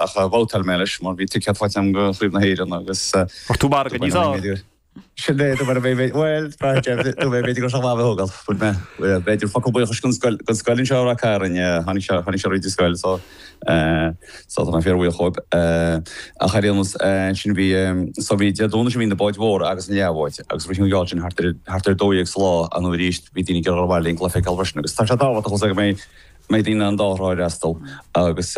Ach bhabhtáil mé leis mar bhí ticéad faighte agam do Chraobh na hÉireann agus. Fuair tú margadh níos fearr. Sin é, dúirt mé, bhuel, dúirt mé b'fhéidir go raibh sé maith a bheith a thógáil. Dúirt mé, b'fhéidir focal buíochais don scoil, don scoil anseo i Ráth Cairn, tháinig sé, tháinig sé fríd an scoil so, so tá mé fíorbhuíoch dhóibh. Ach ar aon nós, ansin bhí, so bhí Dé Domhnaigh sin bhí na báid mhóra agus an leathbháid agus rith an gheall sin thart ar, thart ar 12 sa lá nó arís bhí daoine ag iarraidh dul abhaile an cluiche a fheiceáil freisin agus tá sé tábhachtach go mbeidh, mbeidh daoine an dá thrá a fhreastal agus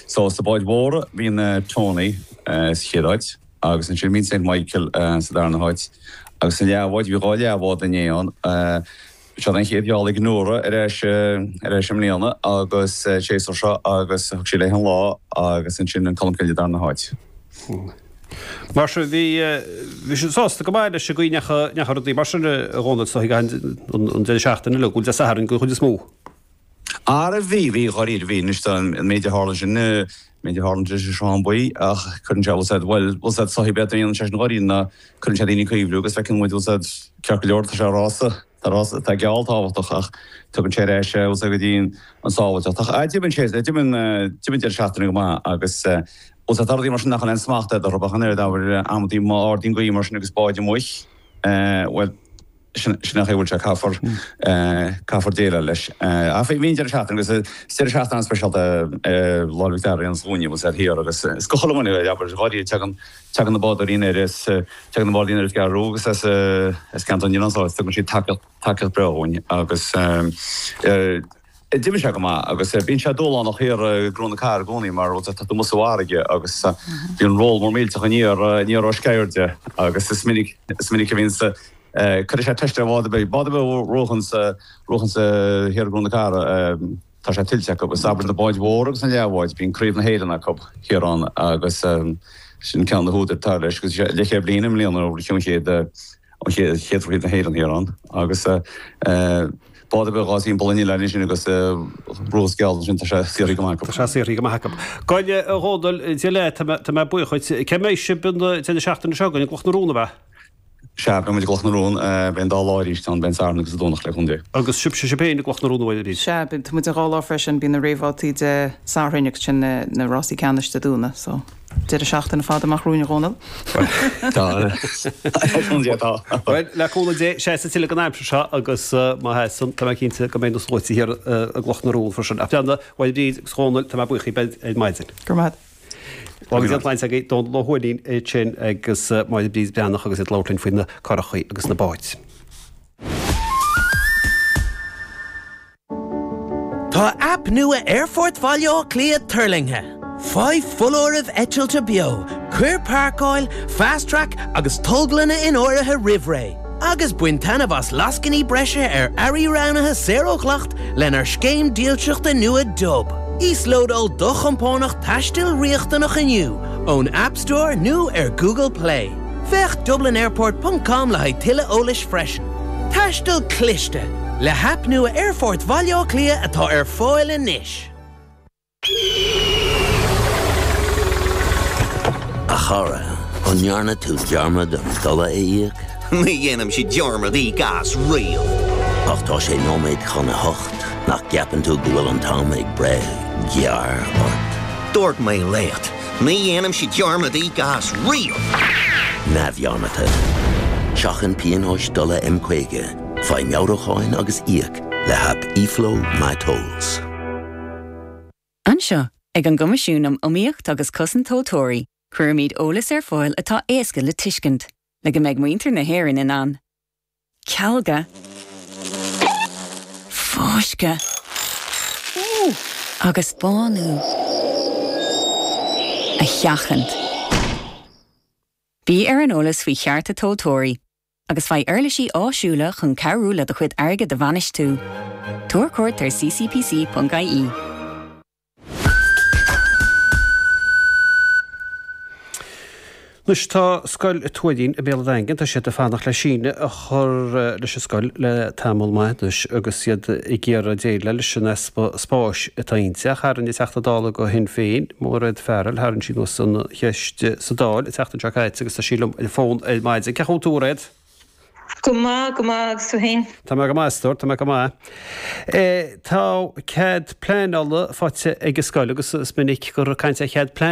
so sa báid mhóra bhí an Tony sa chéad áit agus ansin bhí an Saint Michael sa darna háit agus sa leathbháid bhí dhá leathbhád inné ann. Seo an chéad gheall ag Nóra ar ais ar ais i mbliana agus séasúr seo agus thug sí léi an lá agus ansin an Colmcille sa darna háit. Mar sin bhí bhí siad sásta go maith leis an gcaoi a ndeachaigh rudaí mar sin a Dhónaill so an deireadh seachtaine uilig, bhuel Dé Sathairn den chuid is mó. Ara bhí, bhí, dháiríre, bhí. Anois tá an méid a tharla sin, an méid a tharla ansin i Sruthán Buí ach cuireann sé, bhfuil 's a'd, bhuel, bhfuil 's a'd, soithí beag a dhéanann sé sin dháiríre ná cuireann sé daoine ag cuimhniú agus feiceann muid, bhfuil 's a'd, ceart go leor, tá sé rása, tá rása, tá geall tábhachtach ach tugann sé ar ais, bhfuil 's a'd, go dtí an sábháilteacht. Ach ah, d'imigh sé, d'imigh an, d'imigh an deireadh seachtaine go maith agus, bhfuil 's a'd, tá rudaí mar sin nach bhfuil aon smacht agat orthu ach an oiread, abair, amantaí má ardaíonn gaoth mar sin agus báid amuigh, bhuel, Sin an chaoi a bhfuil sé, caithfear, caithfear déileáil leis. Ach bhí an deireadh seachtaine agus is deireadh seachtaine an-speisialta é Lá 'le Mhic Dara ann dúinne, bhfuil 's a'd, thiar agus is go chuile dhuine, abair, dháiríre, tagann, tagann na bádóirí anoir as, tagann na bádóirí anoir as an gCeathrú Rua agus as, as ceantar an Oileáin so tugann siad tacaíocht, tacaíocht breá dhúinn agus d'imigh sé go maith agus bíonn sé dúshlánach thiar i gCró na Cathrach i gcónaí mar bhfuil 's a'd, tá tú amuigh sa bhfarraige agus bíonn roll mór millteach aniar, aniar ó Sceirde agus is minic, is minic a bhíonn Cuirfidh sé teist ar bhád ar bith, bád ar bith a bhuachann sa, bhuachann sa thiar i gCró na Cathrach, tá sé tuillte acu. Is abair na báid mhóra agus na leathbháid, bíonn Craobh na hÉireann acu thiar ann agus sin ceann de na húdair atá leis agus leathchéad bliain i mbliana ó ritheadh an chéad, an chéad, chéad Chraobh na hÉireann thiar ann agus bád ar bith a ghabhas timpeall an oileáin ansin agus ruas geall ansin tá sé saothraithe go maith acu. Tá sé saothraithe go maith acu. Bhuel a Dhónaill, Dia leat, tá mé buíoch dhuit. Cé mbeidh sibh an deireadh seachtaine seo chugainn i gCloch na Rón, ab ea? Sea, beidh muid i gCloch na Rón, beidh an dá lá arís ann, beidh an Satharn agus an Domhnach le cúnamh Dé. Agus sibhse sibh féin i gCloch na Rón, a Mháire Bríd? Sea, beidh muid an dhá lá freisin, bíonn na réamhbhabhtaí Dé Sathairn agus sin na rásaí ceannais Dé Domhnaigh, so deireadh seachtaine fada amach romhainn, a Dhónaill. Tá, le cúnamh Dé tá. Bhuel, le cúnamh Dé, seasfaidh tuilleadh den aimsir seo agus má sheasann, tá mé cinnte go mbeidh na sluaite thiar i gCloch na Rón freisin. Ach bheanna, a Mháire Bríd agus a Dhónaill, tá mé buíoch dhaoibh ar maidin. Go raibh maith agat. Agus an tsláinte agaibh, Dónal Ó hUaithnín ansin agus Máire Bríd Breathnach agus iad ag labhairt linn faoi na curachaí agus na báid. Tá aip nua Aerfort Bhaile Átha Cliath tuirlingthe. Faigh foláirimh eitilte beo, cuir páirceáil, Fast Track agus tolglanna in áirithe roimh ré, agus bain taitneamh as lascainí breise ar earraí roghnaithe saor ó dhleacht lenár scéim dílseachta nua Dub. Íoslódáil do chompánach taistil riachtanach inniu ón App Store nó ar Google Play. Féach dublinairport ponc com le haghaidh tuilleadh eolais freisin. Taisteal cliste! Le haip nua Aerfort Bhaile Átha Cliath atá ar fáil anois. A chara, an ndearna tú dearmad an dola a íoc? Ní dhéanaimse dearmad íoc as riamh. Ach tá sé nóiméad chun a hocht, nach gceapann tú go bhfuil an t-am ag breith gearr ort? Dúirt mé leat, ní dhéanaimse dearmad íoc as riamh! Neamhdhearmadta. Seachain pionóis dola M50, faigh meabhrúcháin agus íoc le haip eFlow MyTolls. Anseo, ag an gCoimisiún um Iomaíocht agus Cosaint Tomhaltóirí, cuirimid eolas ar fáil atá éasca le tuiscint, le go mbeidh muintir na hÉireann in ann cealga, fáisceadh agus bánú a sheachaint. Bí ar an eolas faoi chearta tomhaltóirí. agus faigh uirlisí áisiúla chun cabhrú le do chuid airgid a bhainistiú. Tabhair cuairt ar ccpc.ie. Anois tá Scoil Tuairín i mBéal an Daingin, tá siad ag fanacht le síneadh a chur leis an scoil le tamall maith anois agus iad ag iarraidh déileáil leis an easpa spáis atá inti. Ach tharraing an Teachta Dála do Shinn Féin, Mairéad Farrell, tharraing sí anuas an cheist sa Dáil an tseachtain seo caite agus tá sí liom ar an bhfón ar maidin. Cén chaoi a bhfuil tú, a Mhairéad? Go maith, go maith, agus tú fhéin? Tá mé go maith, a stór, tá mé go maith. Tá cead pleanála faighte ag an scoil agus is minic gur caint ar chead pleanála.